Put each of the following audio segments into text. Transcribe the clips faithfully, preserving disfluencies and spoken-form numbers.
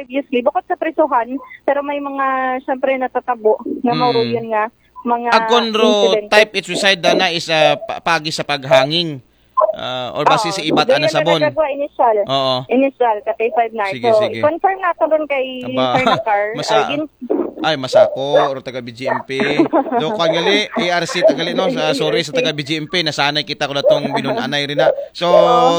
previously, bukod sa prisuhan, pero may mga, syempre, natatabo nga Mm. mauruyon nga mga Akon ro insidente. Type it suicide dana is uh, pa- paagi sa paghanging. Uh, or basi Oo, sa ibat doon ana yung sabon. nagagawa initial. Oo. Initial, ka K five nine. Sige, So, sige. Confirm nato ron kay Aba, Sir Nakar. masa- Ay, yun, Ay, masako, ro taga B G M P. Do kan gali, A R C tagali, no? Sa, sorry sa taga B G M P, nasanay kita ko na tong binunanay rin na. So,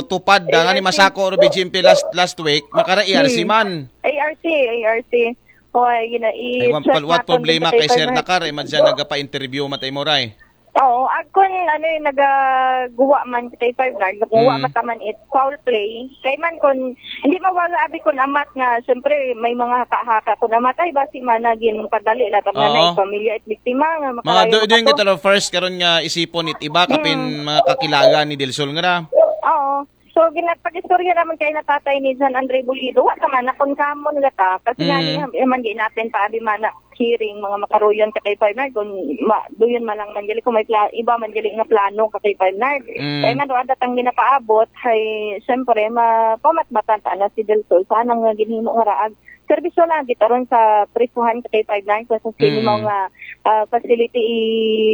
tupad da nga ni masako ro B G M P last last week, makara A R C man. A R C, A R C. O, ay, yun na, Ay, what, i-check what natin problema sa kay Sir paper. Nakar, eh, madyan nagpa-interview matay mo ray. Oo, ako, ano, yung nagaguwa man kay Five Nard, nakuha Mm. mataman it foul play. Kay man kun, hindi mawala abi kun amat nga, syempre, may mga haka-haka kun amat, ay, basi man naging padali, lahat nga Oo. na, pamilya, it biktima, nga Mga makarayo do, doon makato. kita ro first karon nga isipon it iba kapin mga kakilala ni Del Sol nga ra. Oo. So, ginapag-istorya naman kay na tatay ni John Andre Bulido, wa naman, na kun kamon nga ta, kasi Mm. nga, naman di natin pa, abi man na hearing, mga makaruyon ka kay Five Nard, kung ma, doon man lang man gali, kung may pla, iba man gali nga plano ka kay Five Nard. Mm. Kaya nga, doon datang ginapaabot, ay, siyempre, mapamatbatan ta na si Del Sol, sana nga ginhimo nga raag. Serbisyo na, gitaron sa prisuhan ka kay Five Nard, sa Mm. sinimaw nga ah, facility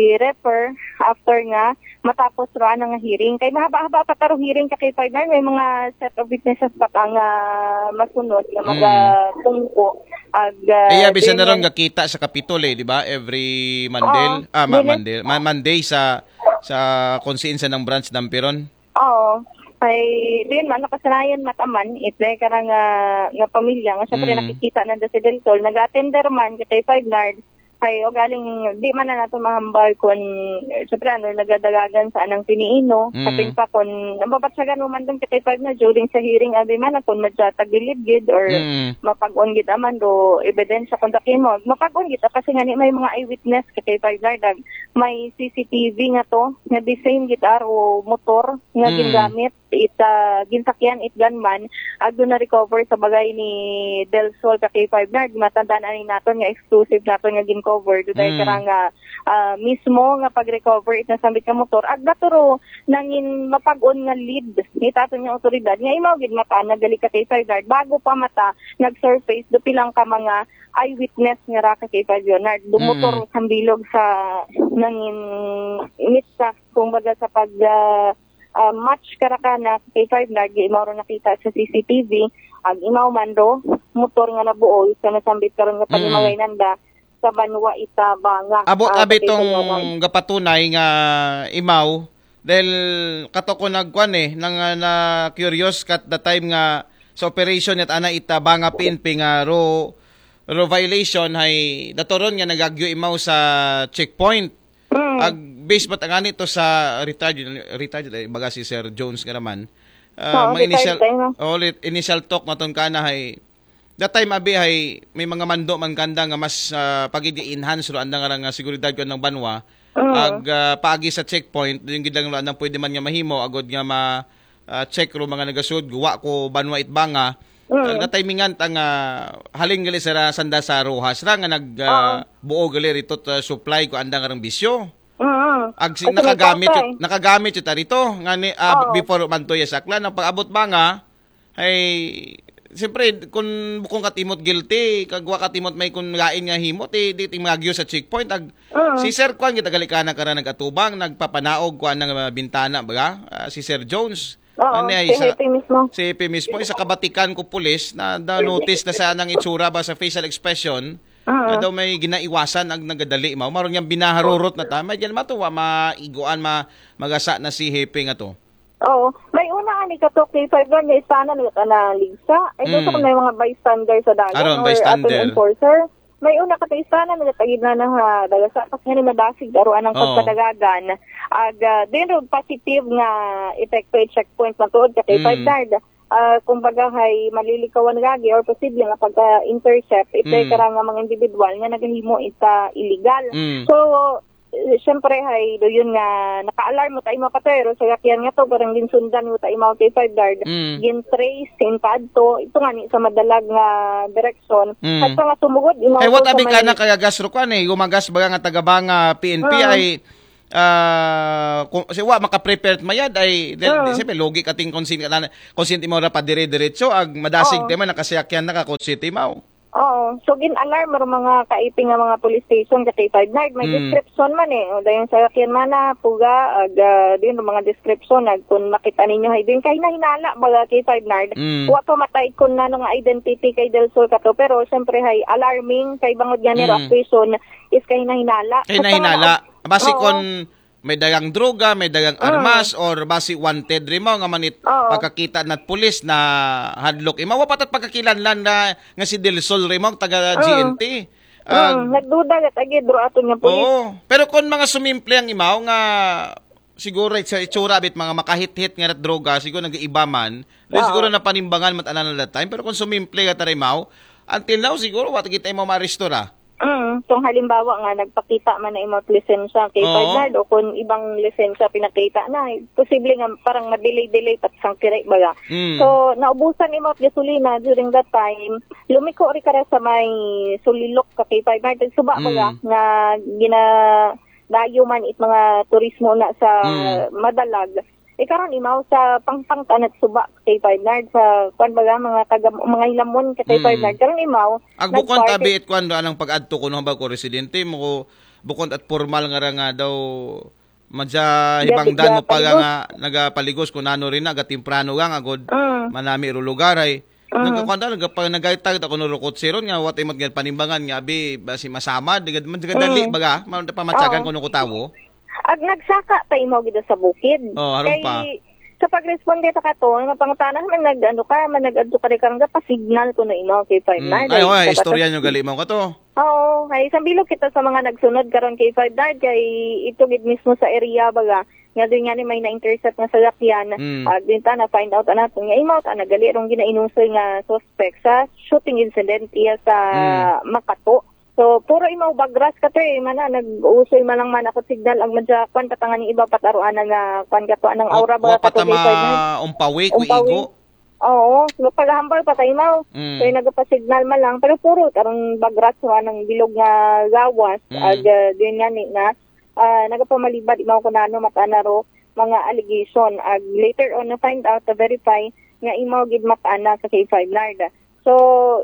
i-refer after nga matapos ro ana nga hearing. Kay mahaba-haba pa taro hearing ka kay Five Nard, may mga set of witnesses pa ka nga masunod nga Mm. magatungko. Ag, ah, Iya, bisan na ron ganyan. Gakita sa Kapitol eh, di ba? Every Monday. Oo, Ah, ma- ganyan. Monday. Ma- Monday sa sa kung saan sa ng branch dampiron. Oo. Kay, din man, nakasanayan mataman, it, dahil ka nga, nga pamilya, nga syempre Mm. nakikita na si Del Sol, nag-attender man, kay Five Nard, kay, o galing, di man na nato mahambal kung, eh, syempre, ano, nagadagagan sa anang piniino, Mm. kapin pa kung, nababatsagan mo man doon kay Five Nard, during sa hearing, abi man, kung magsatagilid gid, or Mm. mapag-on gid aman do ebidensya kung daki mo. Mapag-on gid, kasi nga ni may mga eyewitness kay Five Nard, ag may C C T V nga to, nga design gid aro motor, nga Mm. gingamit, it, ah, ginsakyan it gunman, ag doon na-recover sa bagay ni Del Sol ka K five Nard. Matandaan ani naton nga exclusive naton nga gincover. Doon tayo Mm. karang nga, ah, mismo nga pag-recover it nasambit nga motor. Ag naturo nangin mapag-on nga lead ni taton nga otoridad. Nga imaw gid mata, nagali ka K five Nard. Bago pa mata, nag-surface do pilang ka mga eyewitness nga ra ka K five Nard. Do Mm. motor sa bilog sa nangin mitsa, kumbaga sa pag, ah, ah, match karakana kay Five Nard, imaw ro nakita sa C C T V, ag imaw man ro, motor nga nabuo, sa nasambit karon nga Mm. panimangay nanda, sa banwa ita Banga. Abot Ah, abi sa Pilipinas. tong gapatunay nga imaw, dahil kato ko nagkuan eh, nang ah, na curious kat the time nga sa operation at ana ita Banga P N P nga ro, ro violation hay datoron nga nagagyo imaw sa checkpoint. Mm. Ag base ba tangani to sa retired, retired eh, baga si Sir Jones nga naman. Ah, Oo, may initial retired tayo, no? Oh, lit- initial talk maton kana hay that time abi hay may mga mando man kanda nga mas ah, pagid enhance ro andang nga seguridad ko ng banwa. Mm. Ag ah, paagi sa checkpoint, yung gid lang ro andang pwede man nga mahimo agod nga ma ah, check ro mga nagasud, guwa ko banwa it Banga. Mm. Ag natimingan ta nga halin gali sa ra- sanda sa Roxas ra nga nag ah, buo gali rito ta supply ko andang arang bisyo. Mm. Ag si, Kasi may nakagamit kwarta, yun, eh. nakagamit yun ta rito nga ni ah, Oo. before man to ya sa Aklan, ang pag-abot Banga ay siyempre kung bukong katimot guilty, kagwa katimot may kung lain nga himo, ti di ting magyo sa checkpoint. Ag Mm. si Sir Kwan kita galikana kara nagatubang, nagpapanaog ko anang ah, bintana baga, ah, si Sir Jones. Oo, Ano ay si sa- Happy mismo. Si P mismo, isa kabatikan ko pulis na da notice na sa anang itsura ba sa facial expression, Ah. na daw may ginaiwasan ang nagadali mao. Maron nga binaharurot na ta. May diyan matuwa, maiguan, ma, magasa na si Hepe nga to. Oo. May una nga ni Katok K five nga istana nga na ligsa. Ay, Mm. gusto ko may mga bystander sa dagat Aron, or bystander. atong enforcer. May una ka istana nga tagid na na ha, dagasa. Kasi nga ni madasig, aruan ang Oo. pagpadagagan. Ag, ah, din ro positive nga epekto i-checkpoint matuod ka kay Mm. Five Nard. Ah, kumbaga hay malilikawan gagi or posible nga pagka-intercept ito Mm. karang nga mga individual nga nagahimo ita illegal. Mm. So, eh, siyempre hay do yun nga naka-alarm mo tayo mga patero sa sakyan nga to, parang ginsundan mo tayo mga K five Nard. Mm. Gin-trace in padto, ito nga ni sa madalag nga direksyon. Mm. At sa nga sumugod, imaw Eh, what to sa abi may- ka na kaya gas ro kwan eh, gumagas baga nga tagabanga P N P Ah. ay Ah, kung si wa maka-prepare mayad ay di, Oo. di, siyempre, lugi ka ting konsente, konsente mo ra pa dire-diretso ag madasig Oo. Ti man nakasayakyan na ka konsente mo. Oo. So, gin-alarm ro mga kaiping nga mga police station ka K five Nard. May Mm. Description man eh. O, dayon sa sakyan man na, puga, ag, ah, din mga description, ag, kung makita ninyo, hay din, kay nahinala, baga K five Nard. Mm. Wa pa matay kung nano nga identity kay Del Sol kato, pero siyempre, hay alarming, kay bangod nga ni Mm. Rock Prison is kay nahinala. Kay nahinala. Basi Oo. Kon may dagang droga, may dagang Ah. armas, or basi wanted rin mo nga manit Oo. pagkakita na't pulis na hadlok. Imawa pa tat pagkakilanlan na nga si Del Sol rin mo, taga Ah. G N T. Ah, Hmm, nagduda gat agid ro aton nga pulis. Oo. Pero kung mga sumimple ang imaw nga siguro sa itsura bit mga makahit-hit nga rat droga, siguro nag-iiba man, Oo. siguro na panimbangan mat anan that time. Pero kung sumimple ka tarimaw, until now siguro what kita mo maaresto ra. Mm, kung halimbawa nga nagpakita man na imong lisensya kay Oo. Five Nard o kung ibang lisensya pinakita na, posible nga parang ma-delay-delay pat sang kiray baga. Mm. So, naubusan imong gasolina during that time, lumiko ri ka ra sa may sulilok ka kay Five Nard, suba Mm. baga nga gina dayo man it mga turismo na sa Mm. Madalag. E karon imaw sa pangpang tanat suba kay Five Nard sa kwan baga mga taga mga hilamon ka kay Mm. Five Nard. Karon imaw Ag bukon nagparty- tabi it kwan do anang pag-adto kuno ba ko residente mo ko bukon at formal nga ra nga daw madya hibangdan mo pa Gabig-gabig. Nga nagapaligos kun ano rin na gatimprano gang agod Mm. manami ro lugar ay Mm. nagkakwanda nagapa nagaytag ako no rukot siron nga what imot nga panimbangan nga abi basi masama digad man digad dali Mm. baga man pamatyagan Oo. Kuno ko tawo. Ag nagsaka ta imaw gid sa bukid. Oh, aron Kay pa. Sa pagresponde ta kato, nga pangutana man nag ano ka, man nag-adto ka rin ka nga pa-signal kuno imaw kay Five Mm. Nard. Ay, Ay, oy, dapat istorya nyo gali mo ka to. Oo, ay sambilog kita sa mga nagsunod karon kay Five Nard kay ito gid mismo sa area baga nga doon nga ni may na-intercept nga salakyan. Mm. Ag din ta na find out nato nga imaw ta nagali rong ginainusoy nga suspect sa shooting incident iya sa Mm. Makato. So puro imaw bagras ka to eh, mana nag-usoy man lang man ako signal ag madya kwan katangan ni iba pataruanan nga kwan ka to anang aura ba Wa pa kato kay Five Nard. Tama umpawi ko Umpawi. igo. Oo, so paghambal pa tayo imaw. Mm. So nagapa-signal man lang pero puro karon bagras wa nang bilog nga gawas Mm. ag uh, din nga ni na ah, nagapamalibad imaw ko nano matana ro mga allegation ag later on na find out to verify nga imaw gid matana sa K five Nard. So,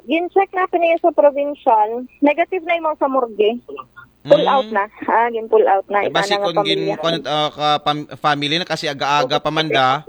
gin-check na niya sa provincial, negative na imaw sa morgue. Pull Mm. Out na. Ah, gin pull out na. Eh, basi Itana nga kung gin pamilya. Kung, uh, ka pam- family na kasi aga-aga pa man da,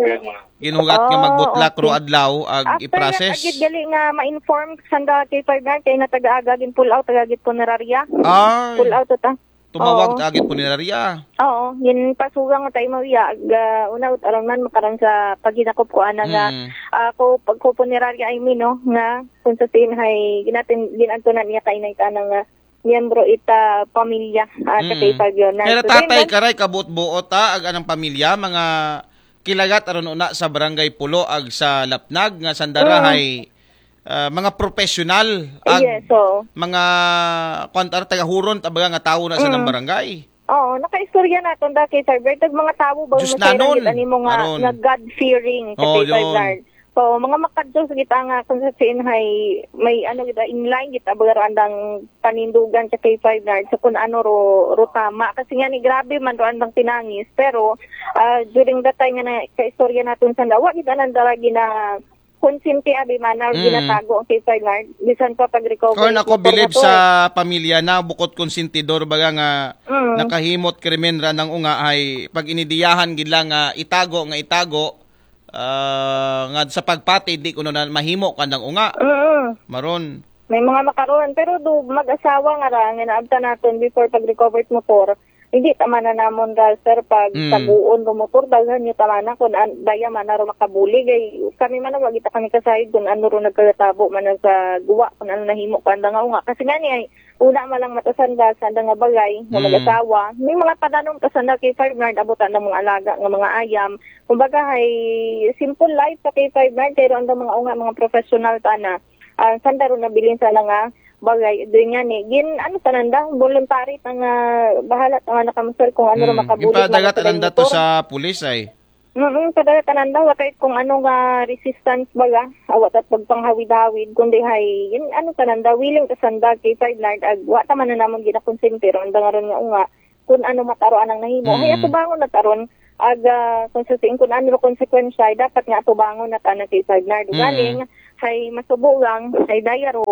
ginuhugat nga Oo, magbutlak okay. Ro adlaw ag After i-process. Agid gali nga ma-inform sanda kay Five Nard kay nataga-aga gin pull out agid punerarya. Ay, Pull out ta. tumawag Oo. Ta agid punerarya. Oo, gin pasugang ta imaw iya ag uh, una aron man makaron sa paghinakop ko ana nga Mm. ako pagko punerarya I mean no nga kung sa sin hay ginatin ginanto na niya kainay ka nga miyembro ita pamilya at Mm. kay Fabio na. Kaya So, tatay then, karay kabot-buot ta ag anang pamilya mga kilagat aron una sa barangay Pulo ag sa Lapnag nga sandara Mm. hay ah, mga professional ag Yes, oo. mga kwantar tagahuron tabaga nga tawo na sa Mm. nang barangay. Oo, nakaistorya naton da kay Five Nard. Tag mga tawo ba Diyos masayran nanon, gid ani mo nga, aron. Nga God-fearing ka Oo, kay Five yun. Nard. So, mga makadyo sa kita nga kung sa sin hay may ano gid in line gid abaga ro andang panindugan ka kay Five Nard sa kung ano ro, ro tama. Kasi nga ni grabe man ro andang tinangis. Pero ah, during that time nga na kaistorya naton sa lawa gid anang daragi na konsente abi man na Mm. ginatago ang kay Five Nard. Bisan pa pag-recover Kung sa ako bilib motor. Sa pamilya na bukod konsentidor baga nga Mm. nakahimot krimen ra nang unga ay pag inidiyahan gid lang nga itago nga itago ah, nga sa pagpati di kuno na mahimo kandang unga. Mm. Maron. May mga makaroon pero do mag-asawa nga ra nga naabtan naton before pag-recover sa motor. Hindi tama na namon ra sir pag Mm. taguon ro motor daghan nyo tama na kung an, daya man na ro makabulig ay kami man wa kita kami kasayod kung ano ro nagkatabo man na sa guwa kung ano nahimo kanda nga unga kasi nga ni ay una man lang matasan da sa nga bagay nga Mm. mag-asawa may mga padanon pa sanda kay Five Nard abutan ng mga alaga nga mga ayam kumbaga hay simple life sa kay Five Nard kay ro andang mga unga mga professional ta na ah, sanda ro nabilin sa nga bagay doon nga ni gin ano tananda voluntary ta nga bahala ta nga nakamusal kung ano ro Mm. makabulig Gipadagat man sa ananda to motor. Sa pulis ay. Mm, padagat ananda wa kay kung ano nga resistance baga awa ta pagpanghawid-hawid kundi hay gin ano tananda willing ta sanda kay Five Nard ag wa ta man na namon ginakonsente ro anda nga ron nga unga kun ano mataro anang nahimo. Hay atubangon na taron, aga, kung sa siing kun ano konsekwensya, ay dapat nga atubangon na ta na kay Sir Bernard. Galing, hay masubo lang, ay dayaro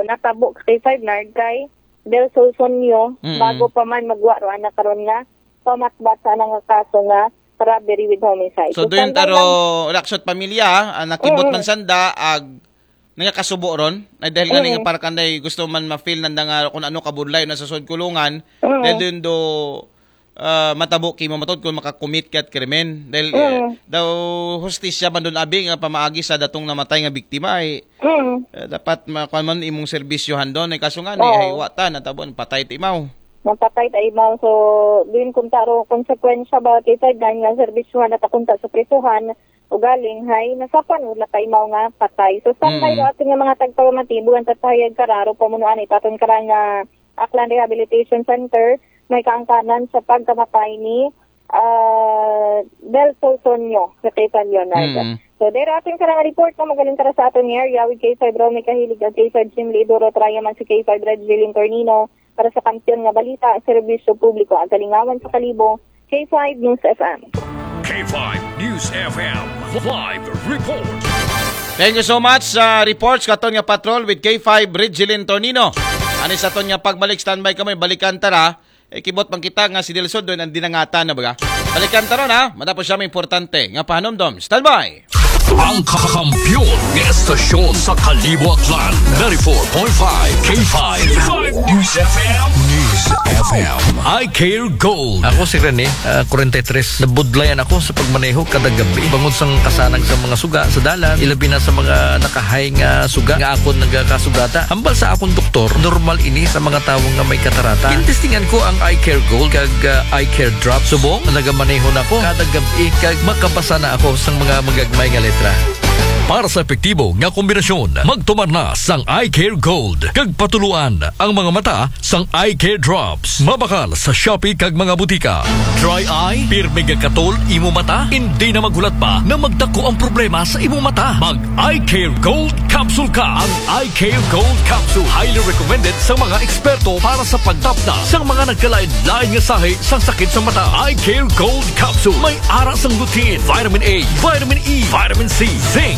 natabo ka kay Sir Bernard, kay Del Solsonio, bago pa man magwa ro ana karon nga pamatbat sa anang kaso nga robbery with homicide. So, doon taro, raksot pamilya, ah, nakibot man sanda, ag nagakasubo ron, ay dahil nga nga parkan day gusto man ma-feel nanda nga kung ano kabudlay na sa sud kulungan, dahil doon do, ah, matabo kimo matod kung makakumit ka at krimen. Dahil, eh, daw hustisya man doon abi nga pamaagi sa datong namatay nga biktima, ay, eh, dapat ma-, kuwan man imong serbisyohan doon. Ay kaso nga ni, ay wata, natabon, patay ti imaw. Napatay ta imaw. So, din kung taro konsekwensya ba kay Ferdinand nga serbisyohan at akunta sa prisuhan, ugaling hay nasapan wala ta imaw nga patay. So, standby do atin nga mga tagpamatibo ang tatayag kararo pamunuan itaton karang nga Aklan Rehabilitation Center, may kaangkanan sa pagkamatay ni, ah, Del Solsonio sa Quezon, Leonard. So, dahil atin karang report na magaling tara sa aton nga area with K five Ronnie Kahilig at K five Jim Lidoro, Trayaman si K five Red Jillian Tornino, para sa kampiyon nga balita, serbisyo publiko, ang kalingawan sa kalibo, K five News F M. K five News F M live report. Thank you so much sa reports katon nga patrol with K five Ridgelin Tornino. Ani sa ton nga pagbalik, standby kami, balikan tara. Eh, kibot man kita nga si Del Sol doon ang dinangatan na baga. Balikan tara na, matapos siya may importante nga pahanumdom. Standby! Ang kakampiyon nga estasyon sa Kalibo Aklan, ninety-four point five K five News F M. News F M. I Care Gold. Ako si Rene, ah, forty-three. Nabudlayan ako sa pagmaneho kada gabi. Bangod sang kasanag sa mga suga sa dalan, ilabi na sa mga nakahay nga suga nga akon nagakasugata. Hambal sa akong doktor, normal ini sa mga tawo nga may katarata. Gintestingan ko ang Eye Care Gold kag, ah, Eye Care Drop. Subong, nagamaneho na ko kada gabi kag makabasa na ako sang mga magagmay nga letra. Para sa epektibo nga kombinasyon, magtumar na sang Eye Care Gold kag patuluan ang mga mata sang Eye Care Drops. Mabakal sa Shopee kag mga butika. Dry eye? Pirmi gakatol imo mata? Hindi na maghulat pa na magdako ang problema sa imo mata. Mag Eye Care Gold Capsule ka. Ang Eye Care Gold Capsule highly recommended sa mga eksperto para sa pagtapna sa mga nagkalain-lain nga sahi sa sakit sa mata. Eye Care Gold Capsule may ara sang lutein, vitamin A, vitamin E, vitamin C, zinc,